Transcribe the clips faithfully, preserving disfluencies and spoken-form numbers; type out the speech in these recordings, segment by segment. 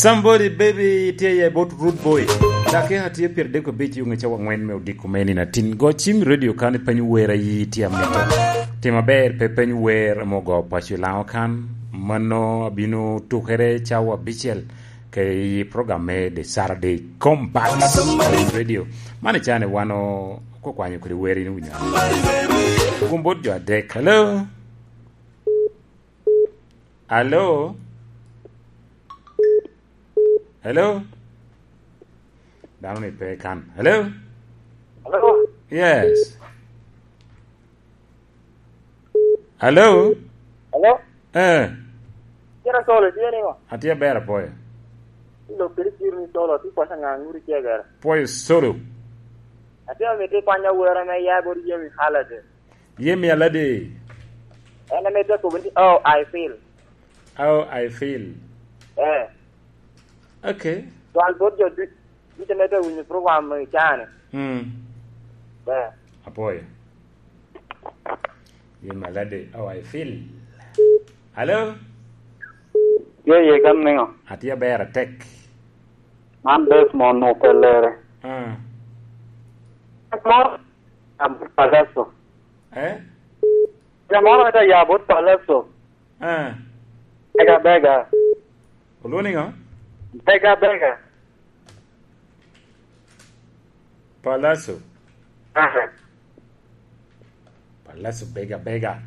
Somebody baby tye ya bot Rude Boy. Dakika tye pyeradek abic i ŋe cawa angwen me odiko me nino atin. Go cim i radio kan ipeny wer ayi tye amito. Tim aber pe peny wer ame ogo paco i Laŋo kan. Mano abino tukere cawa abicel ke i program me The Saturday Combat Radio. Man i can i wan o-, okwanyo kede wer in owinyo. Gum bot jo adek. Hello? Hello? Hello? Dano ni pe kan. Hello? Hello? Yes. Hello? Hello? Eh. Kira solo tye ni ŋo? Atye aber apoyo. Lok kede kiri ni solo, ti kwasa ŋa ŋuri tye gara. Poyo solo. Atye amito ikwanya wera me ya bot Yemi Holiday. Yemi Alade. En ame te kobo ni, "Oh, I feel." Oh, I feel. Eh. Okay. Twal bot jo du-, ducu ame te winyo program i cani. Mm. Eh. Apoyo. Yemi Alade, "Oh, I feel." Hello? Ye, ye, kan niŋo? Atye aber atek. Man Desmond Opelere. Ah. Moro, Palaso. Eh? Jami moro ame te ya bot Palaso. Ah. Bega, bega. Olwoŋo niŋo? Bega, bega. Palaso. Ah. Palaso bega, bega.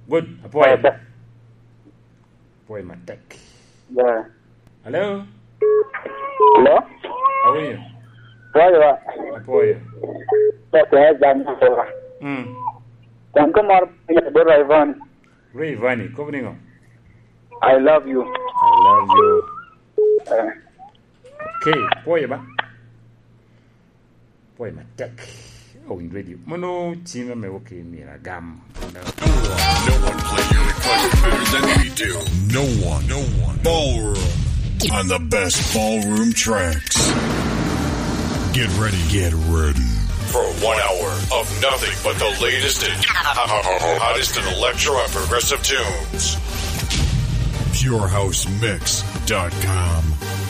Good. Apwoyo. Bega. Apwoyo matek. Yeah. Hello? Hello? Awinyo. Pwoyo wa. Apwoyo. Pwoyo, eh, jam, pwoyo. Mm. Wan ko mar pinyo bot Rayvanny. Rayvanny, kobo niŋo? I love you. I love you. Eh. Okay, pwoyo ba. Pwoyo matek. Owiny Radio. Mano cim ame wok i myero agam. No one, no one play your request better than we do. No one, no one. Ballroom on the best ballroom tracks. Get ready, get ready for one hour of nothing but the latest and hottest in electro and progressive tunes. Pure House Mix dot com.